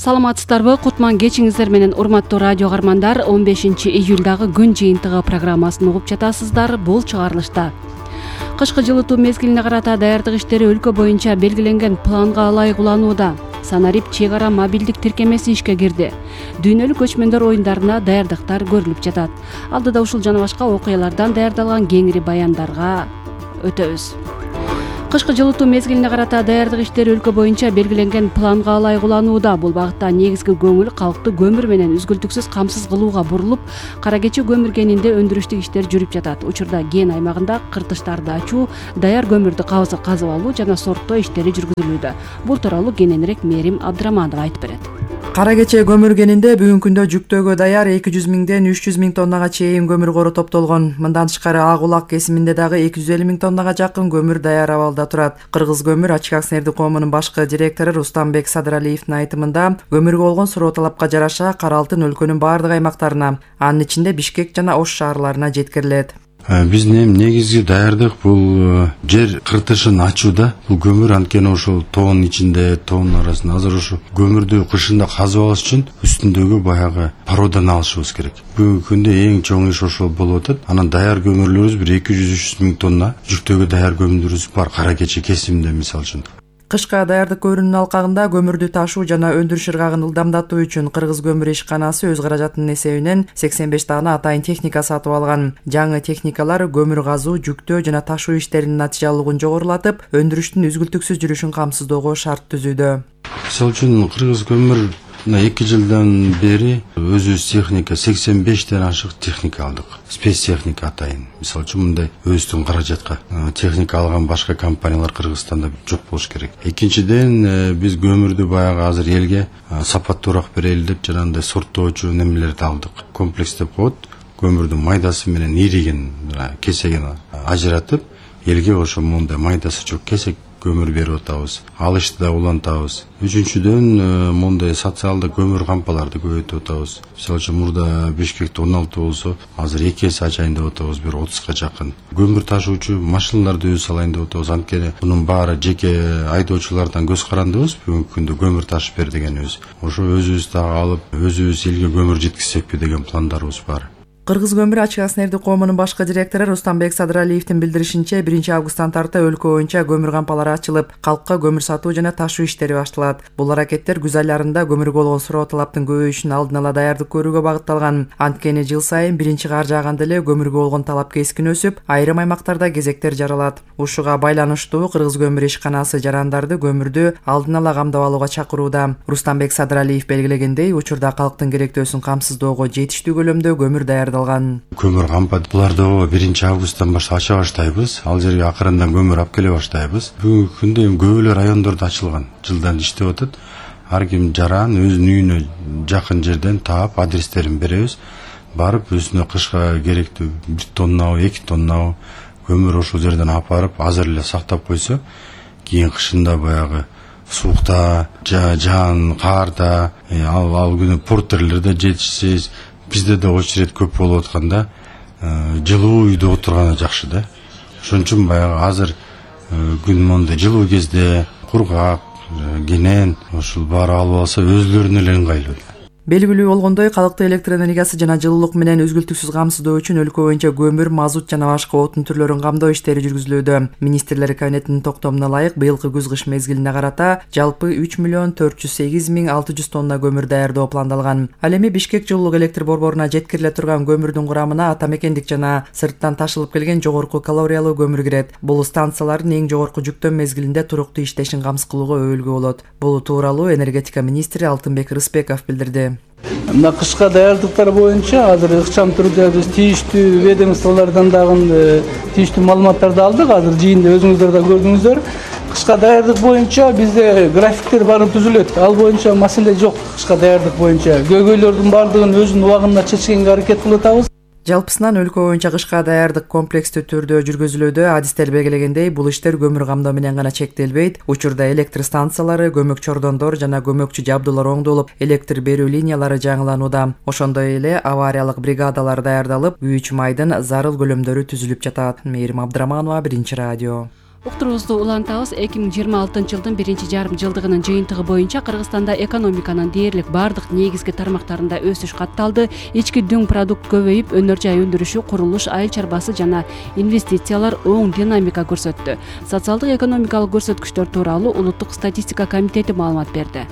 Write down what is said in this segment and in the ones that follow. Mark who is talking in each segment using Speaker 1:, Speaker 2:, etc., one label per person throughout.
Speaker 1: Саламатсыздарбы? Кутман кечиңиздер менен урматтуу радио каармандар. 15-июлдагы күн жыйынтыгы программасын угуп жатасыздар. Бул чыгарылышта кышкы жылытуу мезгилине карата даярдык иштери өлкө боюнча белгиленген планга ылайык уланууда. Санарип чек ара мобилдик тиркемеси ишке кирди. Дүйнөлүк көчмөндөр оюндарына даярдыктар көрүлүп жатат. Алдыда ушул жана башка окуялардан даярдалган кеңири баяндарга өтөбүз. Кышкы жылытуу мезгилине карата даярдык иштери өлкө боюнча белгиленген планга ылайык уланууда. Бул багытта негизги көңүл калкты көмүр менен үзгүлтүксүз камсыз кылууга бурулуп, Кара Кечи көмүр кенинде өндүрүштүк иштер жүрүп жатат. Учурда кен аймагында кыртыштарды ачуу, даяр көмүрдү казып алуу жана сорттоо иштери жүргүзүлүүдө. Бул тууралуу кененирээк Мээрим Абдыраманова айтып берет.
Speaker 2: Кара Кечи көмүр кенинде бүгүнкү күндө жүктөөгө даяр 200 миңден 300 миң тоннага чейин көмүр кору топтолгон. Мындан тышкары Ак Улак кесиминде дагы 250 миң тоннага жакын көмүр даяр абалда турат. Кыргыз көмүр АЧК акционердик коомунун башкы директору Рустамбек Садыралиевдин айтымында, көмүргө болгон суроо талапка жараша кара алтын өлкөнүн баардык аймактарына, анын ичинде Бишкек жана Ош шаарларына жеткирилет.
Speaker 3: Биздин эми негизги даярдык бул жер кыртышын ачууда. Бул көмүр анткени ошол тоонун ичинде, тоонун арасында азыр ошо көмүрдү кышында казып алыш үчүн үстүндөгү баягы породаны алышыбыз керек. Бүгүнкү күндө эң чоң иш ошол болуп атат. Анан даяр көмүрлөрүбүз бир 200-300 миң тонна жүктөөгө даяр көмүрүбүз бар Кара Кечи кесиминде мисалы үчүн.
Speaker 2: Кышка даярдык көрүүнүн алкагында көмүрдү ташуу жана өндүрүш ыргагын ылдамдатуу үчүн Кыргыз көмүр ишканасы өз каражатынын эсебинен 85 даана атайын техника сатып алган. Жаңы техникалар көмүр казуу, жүктөө жана ташуу иштеринин натыйжалуулугун жогорулатып, өндүрүштүн үзгүлтүксүз жүрүшүн камсыздоого шарт түзүүдө.
Speaker 3: Мисалы үчүн Кыргыз көмүр 2 жылдан бери өзүбүз техника 85ден ашык техника алдык. Спецтехника атайын. Мисалы үчүн мындай өзүбүздүн каражатка техника алган башка компаниялар Кыргызстанда жок болуш керек. Экинчиден биз көмүрдү баягы азыр элге сапаттуураак берели деп жанагындай сорттоочу немелерди алдык. Комплекс деп коет. Көмүрдүн майдасы менен иригин, кесегин ажыратып, элге ошо мондай майдасы жок кесек көмүр берип атабыз. Алышты да улантабыз. Үчүнчүдөн мондай социалдык көмүр кампаларды көбөйтүп атабыз. Мисалы үчүн мурда Бишкекте 16 болсо, азыр 2 эсе ачайын деп атабыз, бир 30га жакын. Көмүр ташуучу машиналарды өзүбүз алайын деп атабыз. Анткени мунун баары жеке айдоочулардан көз карандыбыз. Бүгүнкү күндө көмүр ташып бер дегенибиз. Ошо өзүбүз дагы алып, өзүбүз элге көмүр жеткизсекпи деген пландарыбыз бар.
Speaker 2: Кыргыз көмүр АЧК акционердик коомунун башкы директору Рустамбек Садыралиевдин билдиришинче, 1-августтан тарта өлкө боюнча көмүр кампалары ачылып, калкка көмүр сатуу жана ташуу иштери башталат. Бул аракеттер күз айларында көмүргө болгон суроо талаптын көбөйүшүнө алдын ала даярдык көрүүгө багытталган. Анткени жыл сайын биринчи кар жааганда эле көмүргө болгон талап кескин өсүп, айрым аймактарда кезектер жаралат. Ушуга байланыштуу Кыргыз көмүр ишканасы жарандарды көмүрдү алдын ала камдап алууга чакырууда. Рустамбек Садыралиев белгилегендей, учурда калктын керектөөсүн камсыздоого жетиштүү көлөмдө көмүр
Speaker 3: Көмүр кампат. Буларды 1-августтан баштап ача баштайбыз. Ал жерге акырындан көмүр алып келе баштайбыз. Бүгүнкү күндө көбөлөр райондордо ачылган. Жылдан иштеп атат. Ар ким жаран өзүнүн үйүнө жакын жерден таап, адрестерин беребиз. Барып өзүнө кышка керектүү 1 тоннабы, 2 тоннабы көмүр ошол жерден алып барып, азыр эле сактап койсо, кийин кышында баягы суукта, жаан, каарда, ал күнү портерлер да жетишсиз. Бизде да очередь көп болуп атканда, жылуу үйдө отурганы жакшы да. Ошон үчүн баягы азыр күн мондай жылуу кезде кургак, кенен ошол баары алып алса өзлөрүнө эле ыңгайлуу.
Speaker 2: Белгилүү болгондой, калкты электр энергиясы жана жылуулук менен үзгүлтүксүз камсыздоо үчүн өлкө боюнча көмүр, мазут жана башка отун түрлөрүн камдоо иштери жүргүзүлүүдө. Министрлер кабинетинин токтомуна ылайык быйылкы күз-кыш мезгилине карата жалпы 3.408.600 тонна көмүр даярдоо пландалган. Ал эми Бишкек жылуулук электр борборуна жеткириле турган көмүрдүн курамына атамекендик жана сырттан ташылып келген жогорку калориялуу көмүр кирет. Бул станциялардын эң жогорку жүктөө мезгилинде туруктуу иштешин камсыз кылууга өбөлгө болот. Бул тууралуу энергетика министри Алтынбек Рыспеков билдирди.
Speaker 4: Мына кышка даярдыктар боюнча азыр ыкчам түрдө биз тийиштүү ведомстволордон дагы тийиштүү маалыматтарды алдык. Азыр жыйында өзүңүздөр да көрдүңүздөр. Кышка даярдык боюнча бизде графиктер баары түзүлөт. Ал боюнча маселе жок. Кышка даярдык боюнча көйгөйлөрдүн баардыгын өзүнүн убагында чечкенге аракет кылып атабыз.
Speaker 2: Жалпысынан өлкө боюнча кышка даярдык комплекстүү түрдө жүргүзүлүүдө. Адистер белгилегендей, бул иштер көмүр камдоо менен гана чектелбейт. Учурда электр станциялары, көмөк чордондор жана көмөкчү жабдуулар оңдолуп, электр берүү линиялары жаңыланууда. Ошондой эле авариялык бригадалар даярдалып, күйүүчү майдын зарыл көлөмдөрү түзүлүп жатат. Мээрим Абдыраманова, 1 радио.
Speaker 1: Уктуруубузду улантабыз. 2026 жылдын биринчи жарым жылдыгынын жыйынтыгы боюнча Кыргызстанда экономиканын дээрлик бардык негизги тармактарында өсүш катталды. Ички дүң продукт көбөйүп, өнөр жай өндүрүшү, курулуш, айыл чарбасы жана инвестициялар оң динамика көрсөттү. Социалдык экономикалык көрсөткүчтөр тууралуу Улуттук статистика комитети маалымат берди.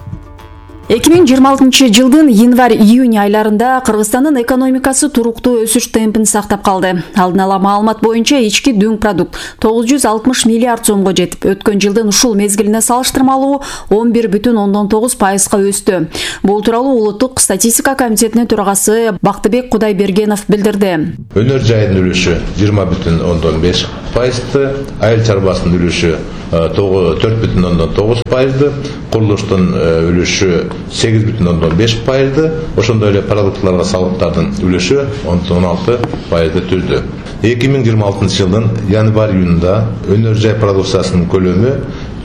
Speaker 5: 2026 жылдын январь-июнь айларында Кыргызстандын экономикасы туруктуу өсүш темпин сактап калды. Алдын ала маалымат боюнча ички дүң продукт 960 миллиард сомго жетип, өткөн жылдын ушул мезгилине салыштырмалуу 11,9% өстү. Бул тууралуу Улуттук статистика комитетинин төрагасы Бактыбек Кудайбергенов билдирди.
Speaker 6: Өнөр жайдын үлүшү 20,5%, айыл чарбасынын үлүшү 4,9%, курулуштун үлүшү 8,5%, ошондой эле продуктларга салыктардын үлүшү 16% түздү. 2026 жылдын январь-июнда өнөр жай продукциясынын көлөмү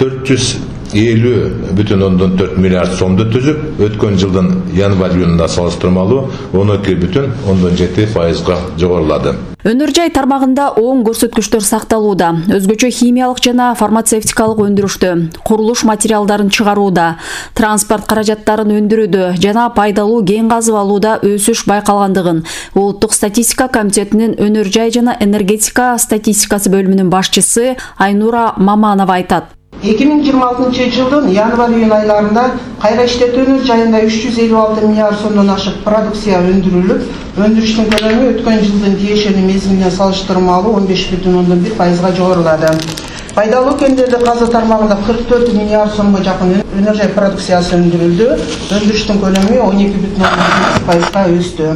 Speaker 6: 450,4 миллиард сомду түзүп, өткөн жылдын январь-июнда салыштырмалуу 12,7%га жогорулады.
Speaker 5: Өнөр жай тармагында оң көрсөткүчтөр сакталууда. Өзгөчө химиялык жана фармацевтикалык өндүрүштө, курулуш материалдарын чыгарууда, транспорт каражаттарын өндүрүүдө жана пайдалуу кен казып алууда өсүш байкалгандыгын Улуттук статистика комитетинин өнөр жай жана энергетика статистикасы бөлүмүнүн башчысы Айнура Маманова айтат.
Speaker 7: 2026 жылдын январь-июнь айларында кайра иштетүү өнөр жайында 356 миллиард сомдон ашык продукция өндүрүлүп, өндүрүштүн көлөмү өткөн жылдын тиешелүү мезгилине салыштырмалуу 15,1%га жогорулады. Пайдалуу кендерди казуу тармагында 44 миллиард сомго жакын өнөр жай продукциясы өндүрүлдү, өндүрүштүн көлөмү 12,8%га өстү.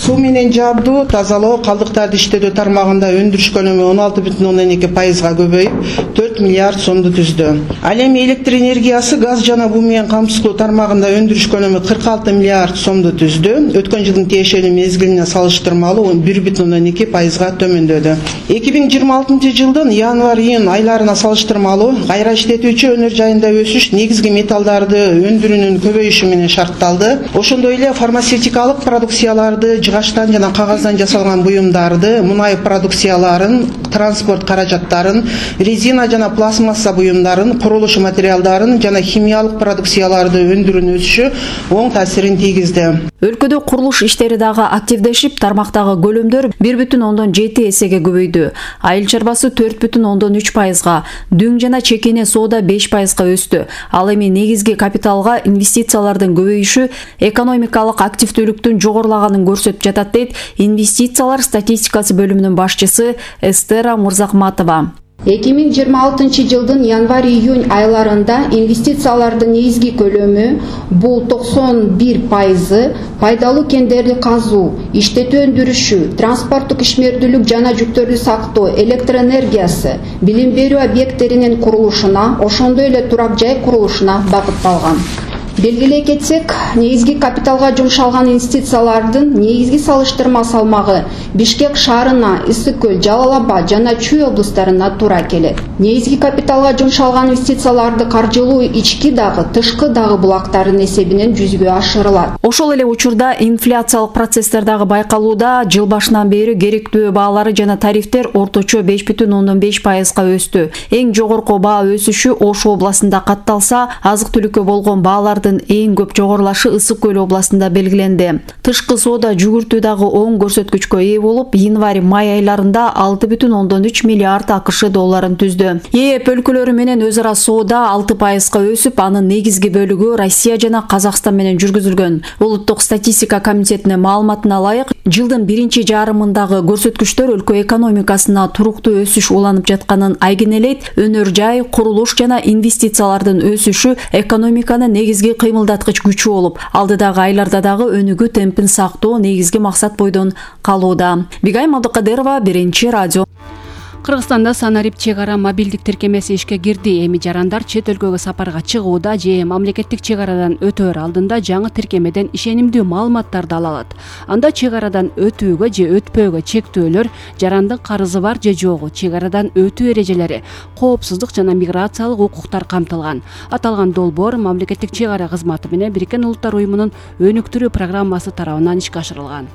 Speaker 7: Суу менен жабдуу, тазалоо, калдыктарды иштетүү тармагында өндүрүш көлөмү 16,2%га көбөйүп, 4 миллиард сомду түздү. Ал эми электр энергиясы, газ жана буу менен камсыздоо тармагында өндүрүш көлөмү 46 миллиард сомду түздү. Өткөн жылдын тиешелүү мезгилине салыштырмалуу 1,2%га төмөндөдү. 2026 жылдын январь-июнь айларына салыштырмалуу кайра иштетүүчү өнөр жайында өсүш негизги металлдарды өндүрүүнүн көбөйүшү менен шартталды. Ошондой эле фармацевтикалык продукцияларды, жыгачтан жана кагаздан жасалган буюмдарды, мунай продукцияларын, транспорт каражаттарын, резина жана пластмасса буюмдарын, курулуш материалдарын жана химиялык продукцияларды өндүрүүнүн өсүшү оң таасирин тийгизди.
Speaker 5: Өлкөдө курулуш иштери дагы активдешип, тармактагы көлөмдөр 1,7 эсеге көбөйдү. Айыл чарбасы 4,3%га, дүң жана чекене соода 5%га өстү. Ал эми негизги капиталга инвестициялардын көбөйүшү экономикалык активдүүлүктүн жогорулаганын көрсөтүп жатат дейт инвестициялар статистикасы бөлүмүнүн башчысы Эстера Мурзахматова.
Speaker 8: 2026 жылдын январь-июнь айларында инвестициялардын негизги көлөмү бул 91%, пайдалуу кендерди казуу, иштетүү өндүрүшү, транспорттук ишмердүүлүк жана жүктөрдү сактоо, электр энергиясы, билим берүү объекттеринин курулушуна, ошондой эле турак жай курулушуна багытталган. Белгилей кетсек, негизги капиталга жумшалган инвестициялардын негизги салыштырма салмагы Бишкек шаарына, Ысык көл, Жалал Абад жана Чүй облустарына туура келет. Негизги капиталга жумшалган инвестицияларды каржылуу ички дагы, тышкы дагы булактардын эсебинен жүзүгө ашырылат.
Speaker 5: Ошол эле учурда инфляциялык процесстер дагы байкалууда. Жыл башынан бери керектүү баалары жана тарифтер орточо 5,5%га өстү. Эң жогорку баа өсүшү Ош областында катталса, азык-түлүккө болгон баалардын эң көп жогорулашы Ысык көл областында белгиленди. Тышкы соода жүгүртүү дагы оң көрсөткүчкө ээ болуп, январь-май айларында 6,3 миллиард АКШ долларын түздү. ЕЭП өлкөлөрү менен өз ара соода 6%га өсүп, анын негизги бөлүгү Россия жана Казакстан менен жүргүзүлгөн. Улуттук статистика комитетинин маалыматына ылайык, жылдын биринчи жарымындагы көрсөткүчтөр өлкө экономикасына туруктуу өсүш уланып жатканын айгинелейт. Өнөр жай, курулуш жана инвестициялардын өсүшү экономиканын негизги кыймылдаткыч күчү болуп, алдыдагы айларда дагы өнүгүү темпин сактоо негизги максат бойдон калууда. Бигайым Абдыкадырова, Биринчи радио.
Speaker 1: Кыргызстанда Санарип чек ара мобилдик тиркемеси ишке кирди. Эми жарандар чет өлкөгө сапарга чыгууда же мамлекеттик чек арадан өтөөр алдында жаңы тиркемеден ишенимдүү маалыматтарды ала алат. Анда чек арадан өтүүгө же өтпөөгө чектөөлөр, жарандын карызы бар же жогу, чек арадан өтүү эрежелери, коопсуздук жана миграциялык укуктар камтылган. Аталган долбоор мамлекеттик чек ара кызматы менен Бириккен Улуттар уюмунун өнүктүрүү программасы тарабынан ишке ашырылган.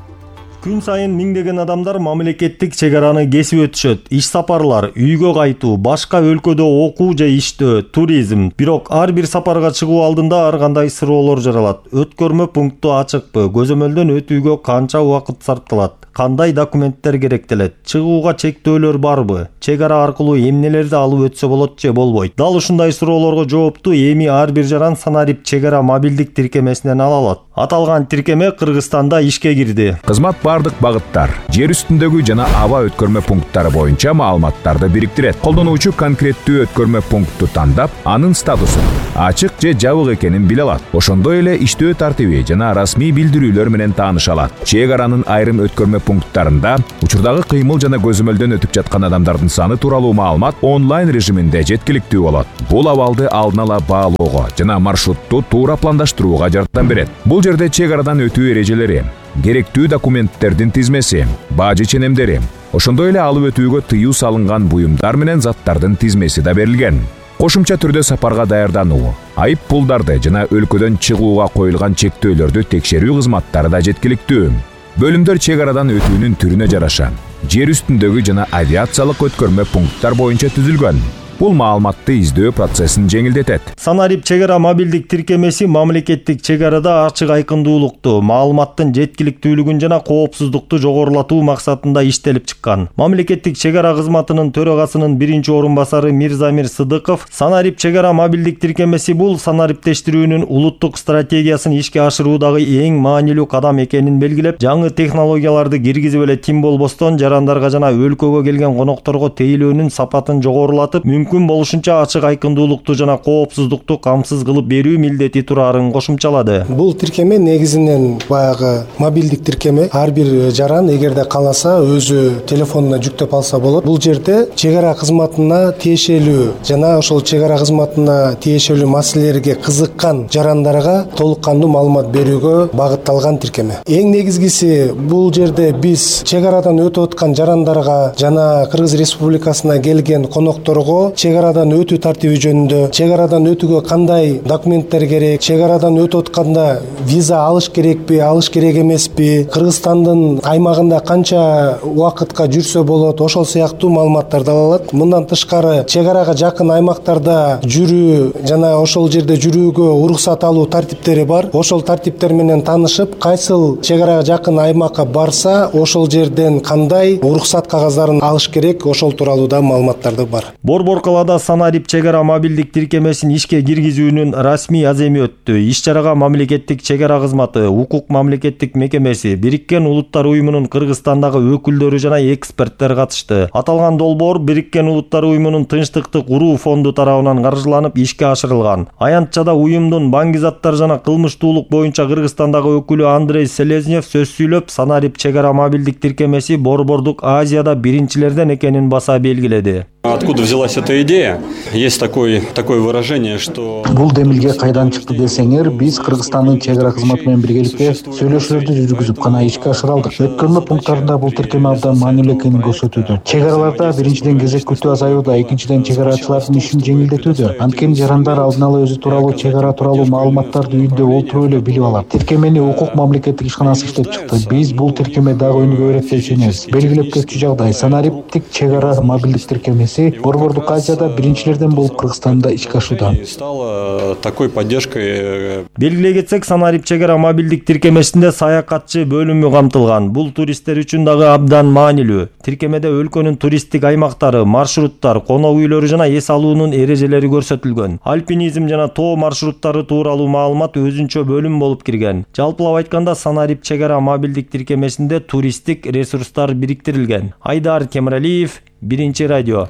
Speaker 9: Күн сайын миңдеген адамдар мамлекеттик чек араны кесип өтүшөт. Иш сапарлар, үйгө кайтуу, башка өлкөдө окуу же иштөө, туризм. Бирок ар бир сапарга чыгуу алдында ар кандай суроолор жаралат. Өткөрмө пункту ачыкпы? Көзөмөлдөн өтүүгө канча убакыт сарпталат? Кандай документтер керектелет? Чыгууга чектөөлөр барбы? Чек ара аркылуу эмнелерди алып өтсө болот же болбойт? Дал ушундай суроолорго жоопту эми ар бир жаран Санарип чек ара мобилдик тиркемесинен ала алат. Аталган тиркеме Кыргызстанда ишке кирди.
Speaker 10: Кызмат бардык багыттар, жер үстүндөгү жана аба өткөрмө пункттары боюнча маалыматтарды бириктирет. Колдонуучу конкреттүү өткөрмө пункту тандап, анын статусун, ачык же жабык экенин биле алат. Ошондой эле иштөө тартиби жана расмий билдирүүлөр менен тааныша алат. Чек аранын айрым өткөрмө пункттарында учурдагы кыймыл жана көзөмөлдөн өтүп жаткан адамдардын саны тууралуу маалымат онлайн режиминде жеткиликтүү болот. Бул абалды алдын ала баалоого жана маршрутту туура пландаштырууга жардам берет. Бул жерде чек арадан өтүү эрежелери, керектүү документтердин тизмеси, бажы ченемдери, ошондой эле алып өтүүгө тыюу салынган буюмдар менен заттардын тизмеси да берилген. Кошумча түрдө сапарга даярдануу, айып пулдарды жана өлкөдөн чыгууга коюлган чектөөлөрдү текшерүү кызматтары да жеткиликтүү. Бөлүмдөр чек арадан өтүүнүн түрүнө жараша жер үстүндөгү жана авиациялык өткөрмө пункттар боюнча түзүлгөн. Бул маалыматты издөө процессин жеңилдетет.
Speaker 9: Санарип чек ара мобилдик тиркемеси мамлекеттик чек арада ачык айкындуулукту, маалыматтын жеткиликтүүлүгүн жана коопсуздукту жогорулатуу максатында иштелип чыккан. Мамлекеттик чек ара кызматынын төрагасынын биринчи орун басары Мирзамир Сыдыков Санарип чек ара мобилдик тиркемеси бул санариптештирүүнүн улуттук стратегиясын ишке ашыруудагы эң маанилүү кадам экенин белгилеп, жаңы технологияларды киргизип эле тим болбостон жарандарга жана өлкөгө келген конокторго тейлөөнүн сапатын жогорулатып, мүмкүн болушунча ачык айкындуулукту жана коопсуздукту камсыз кылып берүү милдети турарын кошумчалады.
Speaker 11: Бул тиркеме негизинен баягы мобилдик тиркеме. Ар бир жаран эгерде кааласа өзү телефонуна жүктөп алса болот. Бул жерде чек ара кызматына тиешелүү жана ошол чек ара кызматына тиешелүү маселелерге кызыккан жарандарга толук кандуу маалымат берүүгө багытталган тиркеме. Эң негизгиси бул жерде биз чек арадан өтүп аткан жарандарга жана Кыргыз Республикасына келген конокторго чек арадан өтүү тартиби жөнүндө, чек арадан өтүүгө кандай документтер керек, чек арадан өтүп атканда виза алыш керекпи, алыш керек эмеспи, Кыргызстандын аймагында канча убакытка жүрсө болот, ошол сыяктуу маалыматтарды ала алат. Мындан тышкары чек арага жакын аймактарда жүрүү жана ошол жерде жүрүүгө уруксат алуу тартиптери бар. Ошол тартиптер менен таанышып, кайсыл чек арага жакын аймакка барса, ошол жерден кандай уруксат кагаздарын алыш керек, ошол тууралуу да маалыматтарды бар.
Speaker 9: Борбор калаада Санарип чек ара мобилдик тиркемесин ишке киргизүүнүн расмий аземи өттү. Иш-чарага мамлекеттик чек ара кызматы, укук мамлекеттик мекемеси, Бириккен Улуттар уюмунун Кыргызстандагы өкүлдөрү жана эксперттер катышты. Аталган долбоор Бириккен Улуттар уюмунун Тынчтыкты куруу фонду тарабынан каржыланып ишке ашырылган. Аянтчада уюмдун баңгизаттар жана кылмыштуулук боюнча Кыргызстандагы өкүлү Андрей Селезнев сөз сүйлөп, Санарип чек ара мобилдик тиркемеси Борбордук Азияда биринчилерден экенин баса белгиледи.
Speaker 12: Откуда взялась эта идея? Есть такое выражение, что...
Speaker 13: Бул демилге кайдан чыкты десеңер, биз Кыргызстандын чек ара кызматы менен биргеликте сүйлөшүүлөрдү жүргүзүп гана ишке ашыралдык. Өткөрмө пункттарында бул тиркеме абдан маанилүү экенин көрсөтүүдө. Чек араларда биринчиден кезек күтүү азаюуда, экинчиден чек арачылардын ишин жеңилдетүүдө. Анткени жарандар алдын ала өзү тууралуу чек ара тууралуу маалыматтарды үйүндө олтуруп эле билип алат. Тиркемени укук мамлекеттик ишканасы иштеп чыкты. Биз бул тиркеме дагы өнүгө берет деп ишенебиз. Белгилеп кетчү жагдай Санариптик чек ара мобилдик тиркемеси Борбордук Азияда биринчилерден болуп Кыргызстанда ишке ашууда.
Speaker 12: Стала такой поддержкой.
Speaker 9: Белгилей кетсек, Санарип чек ара мобилдик тиркемесинде саякатчы бөлүмү камтылган. Бул туристтер үчүн дагы абдан маанилүү. Тиркемеде өлкөнүн туристтик аймактары, маршруттар, конок үйлөрү жана эс алуунун эрежелери көрсөтүлгөн. Альпинизм жана тоо маршруттары тууралуу маалымат өзүнчө бөлүм болуп кирген. Жалпылап айтканда, Санарип чек ара мобилдик тиркемесинде туристтик ресурстар бириктирилген. Айдар Темиралиев, Биринчи радио.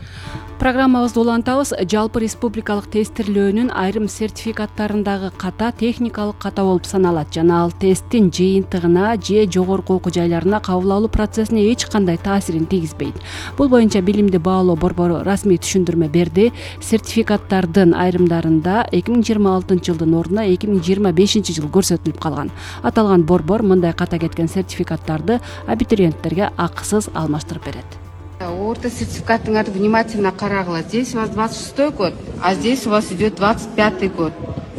Speaker 1: Программабызды улантабыз. Жалпы республикалык тестирлөөнүн айрым сертификаттарындагы ката техникалык ката болуп саналат жана ал тесттин жыйынтыгына же жогорку окуу жайларына кабыл алуу процессине эч кандай таасирин тийгизбейт. Бул боюнча Билимди баалоо борбору расмий түшүндүрмө берди. Сертификаттардын айрымдарында 2026 жылдын ордуна 2025 жыл көрсөтүлүп калган. Аталган борбор мындай ката кеткен сертификаттарды абитуриенттерге акысыз алмаштырып берет.
Speaker 14: Орта сертификатыңарды внимательно карагыла. Здесь у вас 26-й год, а здесь у вас идет 25-й год.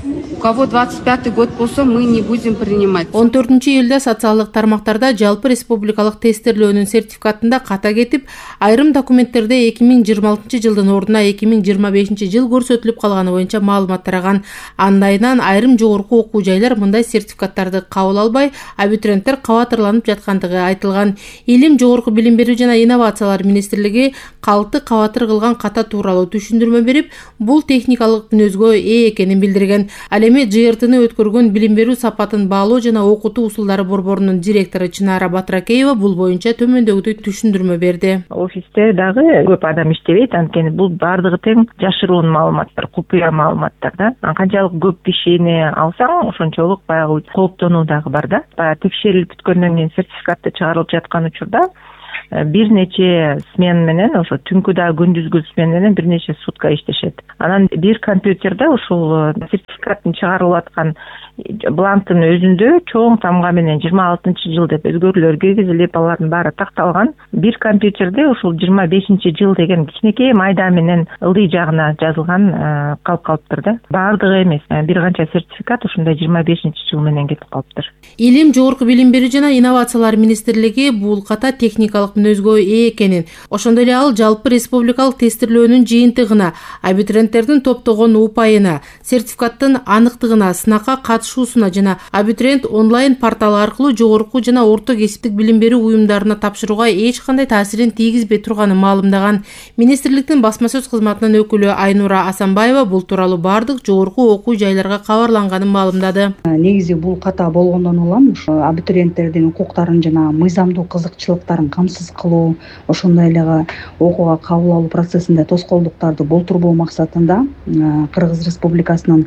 Speaker 14: У кого 25-й год болсо, мы не будем принимать.
Speaker 15: 14-июлда социалдык тармактарда жалпы республикалык тестирлөөнүн сертификатында ката кетип, айрым документтерде 2026 жылдын ордуна 2025 жыл көрсөтүлүп калганы боюнча маалымат тараган. Андайынан айрым жогорку окуу жайлар мындай сертификаттарды кабыл албай, абитуриенттер кабатырланып жаткандыгы айтылган. Илим, жогорку билим берүү жана инновациялар министрлиги калкты кабатыр кылган ката тууралуу түшүндүрмө берип, бул техникалык мүнөзгө ээ экенин билдирген. Эми ЖРТны өткөргөн билим берүү сапатын баалоо жана окутуу усулдары борборунун директору Чынара Батыракеева бул боюнча төмөндөгүдөй түшүндүрмө берди.
Speaker 16: Офисте дагы көп адам иштебейт, анткени бул баардыгы тең жашыруун маалыматтар, купуя маалыматтар да. Канчалык көп кишини алсаң, ошончолук баягы кооптонуу дагы бар да. Баягы текшерилип бүткөндөн кийин сертификаты чыгарылып жаткан учурда бир нече смена менен, ошо түнкү дагы күндүзгү смена менен бир нече сутка иштешет. Анан бир компьютерде ушул сертификаттын чыгарылып аткан бланктын өзүндө чоң тамга менен 26-жыл деп өзгөрүүлөр киргизилип, алардын баары такталган. Бир компьютерде ушул 25-жыл деген кичинекей майда менен ылдый жагына жазылган калып калыптыр да. Баардыгы эмес, бир канча сертификат ушундай 25-жыл менен кетип калыптыр.
Speaker 15: Илим, жогорку билим берүү жана инновациялар министрлиги бул ката техникалык мүнөзгө ээ экенин, ошондой эле ал жалпы республикалык тестирлөөнүн жыйынтыгына, абитуриенттердин топтогон упайына, сертификаттын аныктыгына, сынакка катышуусуна жана абитуриент онлайн порталы аркылуу жогорку жана орто кесиптик билим берүү уюмдарына тапшырууга эч кандай таасирин тийгизбей турганын маалымдаган. Министрликтин басма сөз кызматынын өкүлү Айнура Асанбаева бул тууралуу баардык жогорку окуу жайларга кабарланганын маалымдады.
Speaker 17: Негизи бул ката болгондон улам абитуриенттердин укуктарын жана мыйзамдуу кызыкчылыктарын камсыз кылуу, ошондой эле окууга кабыл алуу процессинде тоскоолдуктарды болтурбоо максатында Кыргыз Республикасынын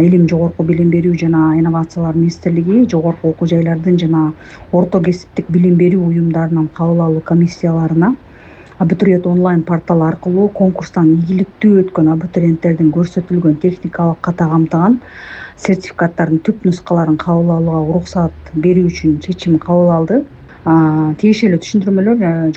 Speaker 17: Илим, жогорку билим берүү жана инновациялар министрлиги жогорку окуу жайлардын жана орто кесиптик билим берүү уюмдарынын кабыл алуу комиссияларына абитуриент онлайн порталы аркылуу конкурстан ийгиликтүү өткөн абитуриенттердин көрсөтүлгөн техникалык ката камтыган сертификаттардын түп нускаларын кабыл алууга уруксат берүү үчүн чечим кабыл алды. Тиешелүү түшүндүрмөлөр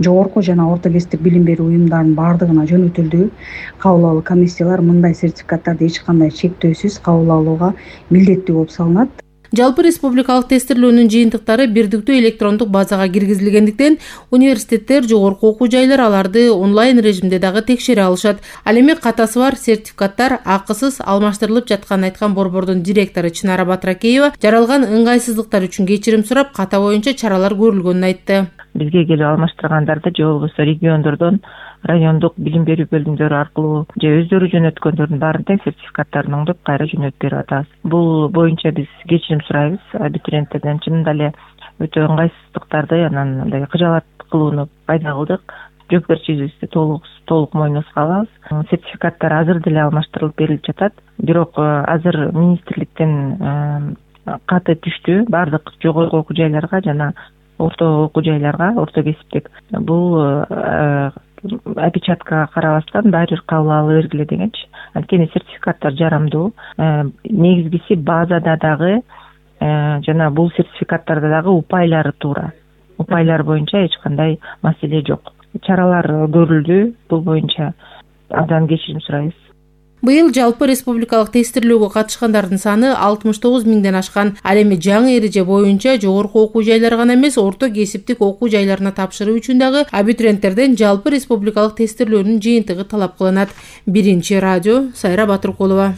Speaker 17: жогорку жана орто кесиптик билим берүү уюмдарынын баардыгына жөнөтүлдү. Кабыл алуу комиссиялар мындай сертификаттарды эч кандай чектөөсүз кабыл алууга милдеттүү болуп салынат.
Speaker 15: Жалпы республикалык тестирлөөнүн жыйынтыктары бирдиктүү электрондук базага киргизилгендиктен университеттер, жогорку окуу жайлар аларды онлайн режимде дагы текшере алышат. Ал эми катасы бар сертификаттар акысыз алмаштырылып жатканын айткан борбордун директору Чынара Батыракеева жаралган ыңгайсыздыктар үчүн кечирим сурап, ката боюнча чаралар көрүлгөнүн айтты.
Speaker 16: Бизге келип алмаштыргандарды же болбосо региондордон райондук билим берүү бөлүмдөрү аркылуу же өздөрү жөнөткөндөрдүн баарын тең сертификаттарын оңдоп кайра жөнөтүп берип атабыз. Бул боюнча биз кечирим сурайбыз абитуриенттерден. Чынында эле өтө ыңгайсыздыктарды, анан мындай кыжаалат кылууну пайда кылдык. Жоопкерчилигибизди толук мойнубузга алабыз. Сертификаттар азыр деле алмаштырылып берилип жатат. Бирок азыр министрликтен каты түштү баардык жогорку окуу жайларга жана орто окуу жайларга, орто кесиптик. Бул опечаткага карабастан баары бир кабыл ала бергиле дегенчи. Анткени сертификаттар жарамдуу. Негизгиси базада дагы жана бул сертификаттарда дагы упайлары туура. Упайлар боюнча эч кандай маселе жок. Чаралар көрүлдү. Бул боюнча абдан кечирим сурайбыз.
Speaker 15: Быйыл жалпы республикалык тестирлөөгө катышкандардын саны 69 миңден ашкан. Ал эми жаңы эреже боюнча жогорку окуу жайлар гана эмес, орто кесиптик окуу жайларына тапшыруу үчүн дагы абитуриенттерден жалпы республикалык тестирлөөнүн жыйынтыгы талап кылынат. Биринчи радио, Сайра Батыркулова.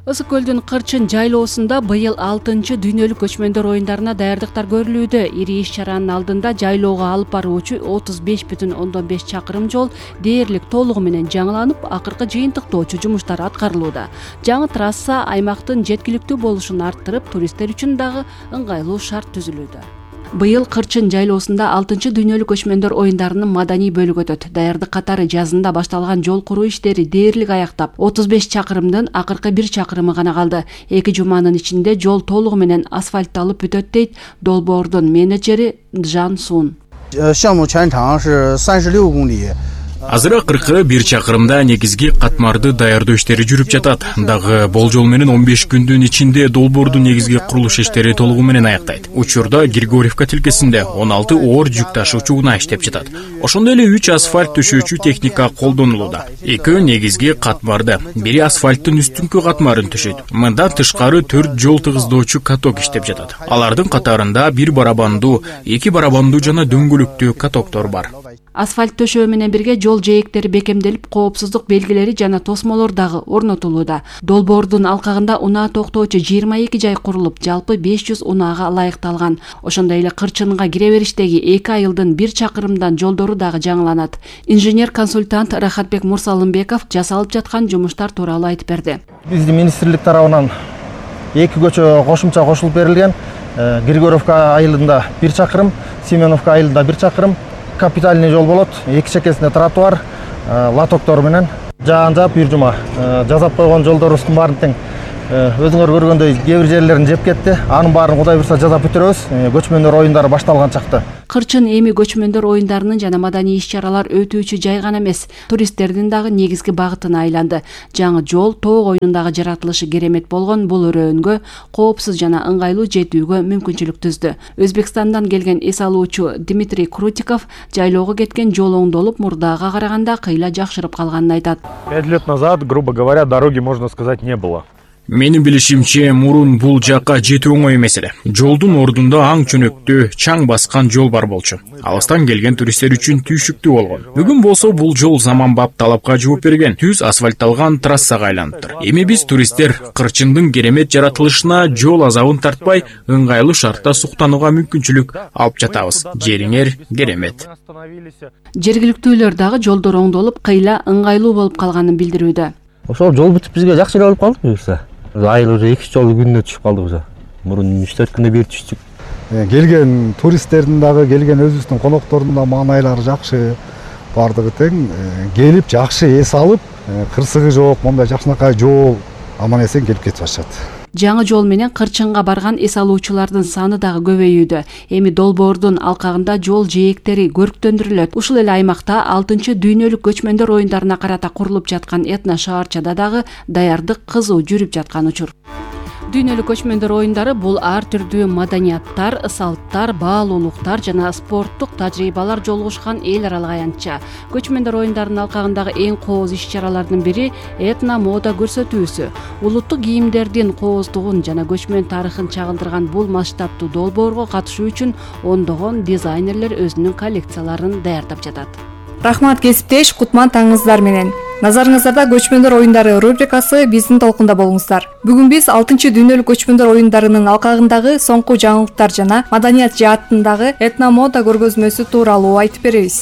Speaker 1: Ысык көлдүн Кырчын жайлоосунда быйыл 6-чы дүйнөлүк көчмөндөр оюндарына даярдыктар көрүлүүдө. Ири иш-чаранын алдында жайлоого алып баруучу 35,5 чакырым жол дээрлик толугу менен жаңыланып, акыркы жыйынтыктоочу жумуштар аткарылууда. Жаңы трасса аймактын жеткиликтүү болушун арттырып, туристтер үчүн дагы ыңгайлуу шарт түзүлүүдө. Быйыл Кырчын жайлоосунда 6-чы дүйнөлүк көчмөндөр оюндарынын маданий бөлүгү өтөт. Даярдык катары жазында башталган жол куруу иштери дээрлик аяктап, 35 чакырымдын акыркы 1 чакырымы гана калды. 2 жуманын ичинде жол толугу менен асфальтталып бүтөт дейт Долбоордун менеджери Джан Сун.
Speaker 18: 项目全长是36公里 Азыра 41 чакырымда негизги катмарды даярдоо иштери жүрүп жатат. Дагы болжол менен 15 күндүн ичинде долбоордун негизги курулуш иштери толугу менен аяктайт. Учурда Григорьевка тилкесинде 16 оор жүк ташуучу унаа иштеп жатат. Ошондой эле 3 асфальт төшөөчү техника колдонулууда. Экөө негизги катмарды, бири асфальттын үстүнкү катмарын төшөйт. Мындан тышкары 4 жол тыгыздоочу каток иштеп жатат. Алардын катарында 1 барабандуу, 2 барабандуу жана дөңгөлөктүү катоктор бар.
Speaker 1: Асфальт төшөө менен бирге жол жээктери бекемделип, коопсуздук белгилери жана тосмолор дагы орнотулууда. Долбоордун алкагында унаа токтоочу 22 жай курулуп, жалпы 500 унаага ылайыкталган. Ошондой эле Кырчынга кире бериштеги 2 айылдын 1 чакырымдан жолдору дагы жаңыланат. Инженер-консультант Рахатбек Мурсалымбеков жасалып жаткан жумуштар тууралуу айтып берди.
Speaker 9: Биздин министрлик тарабынан 2 көчө кошумча кошулуп берилген. Григорьевка айылында 1 чакырым, Семеновка айылында 1 чакырым. Капитальный жол болот. Эки чекесинде тротуар, лотоктор менен жаан-жаап бир жума жасап койгон жолдорубуздун баарын тең өзүңөр көргөндөй кээ бир жерлерин жеп кетти. Анын баарын Кудай буйрса жасап бүтүрөбүз. Көчмөндөр оюндары башталган чакта.
Speaker 1: Кырчын эми көчмөндөр оюндарынын жана маданий иш-чаралар өтүүчү жай гана эмес, туристтердин дагы негизги багытына айланды. Жаңы жол тоог оюнундагы жаратылышы керемет болгон бул өрөөнгө коопсуз жана ыңгайлуу жетүүгө мүмкүнчүлүк түздү. Өзбекстандан келген эс алуучу Дмитрий Крутиков жайлоого кеткен жол оңдолуп, мурдага караганда кыйла жакшырып калганын айтат.
Speaker 19: 5 лет назад, грубо говоря, дороги, можно сказать, не было.
Speaker 18: Менин билишимче, мурун бул жакка жетүү оңой эмес эле. Жолдун ордунда аң чөнөктүү, чаң баскан жол бар болчу. Алыстан келген туристтер үчүн түйшүктүү болгон. Бүгүн болсо бул жол заманбап талапка жооп берген, түз асфальтталган трассага айланыптыр. Эми биз туристтер Кырчындын керемет жаратылышына жол азабын тартпай, ыңгайлуу шартта суктанууга мүмкүнчүлүк алып жатабыз. Жериңер керемет.
Speaker 1: Жергиликтүүлөр дагы жолдор оңдолуп, кыйла ыңгайлуу болуп калганын билдирүүдө.
Speaker 20: Ошол жол бүтүп бизге жакшы эле болуп калды буюрса. Айыл уже 2 жол күнүнө түшүп калды уже. Мурун 3-4 күндө бир түштүк.
Speaker 21: Келген туристтердин дагы, келген өзүбүздүн коноктордун да маанайлары жакшы, бардыгы тең. Келип жакшы эс алып, кырсыгы жок, мондай жакшынакай жол аман эсен келип кетип атышат.
Speaker 1: Жаңы жол менен Кырчынга барган эс алуучулардын саны дагы көбөйүүдө. Эми долбоордун алкагында жол жээктери көрктөндүрүлөт. Ушул эле аймакта 6-чы дүйнөлүк көчмөндөр оюндарына карата курулуп жаткан этно шаарчада дагы даярдык кызуу жүрүп жаткан учур. Дүйнөлүк көчмөндөр оюндары бул ар түрдүү маданияттар, салттар, баалуулуктар жана спорттук тажрыйбалар жолугушкан эл аралык аянтча. Көчмөндөр оюндарынын алкагындагы эң кооз иш-чаралардын бири этно мода көрсөтүүсү. Улуттук кийимдердин кооздугун жана көчмөн тарыхын чагылдырган бул масштабтуу долбоорго катышуу үчүн ондогон дизайнерлер өзүнүн коллекцияларын даярдап жатат.
Speaker 22: Рахмат кесиптеш, кутман таңыңыздар менен. Назарыңыздарда көчмөндөр оюндары рубрикасы биздин толкунда болуңуздар. Бүгүн биз 6-чы дүйнөлүк көчмөндөр оюндарынын алкагындагы соңку жаңылыктар жана маданият жаатындагы этномода көргөзмөсү тууралуу айтып беребиз.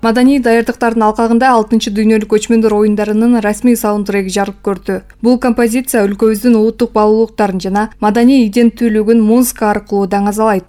Speaker 22: Маданий даярдыктардын алкагында 6-чы дүйнөлүк көчмөндөр оюндарынын расмий саундтреги жарык көрдү. Бул композиция өлкөбүздүн улуттук баалуулуктарын жана маданий иденттүүлүгүн музыка аркылуу даңазалайт.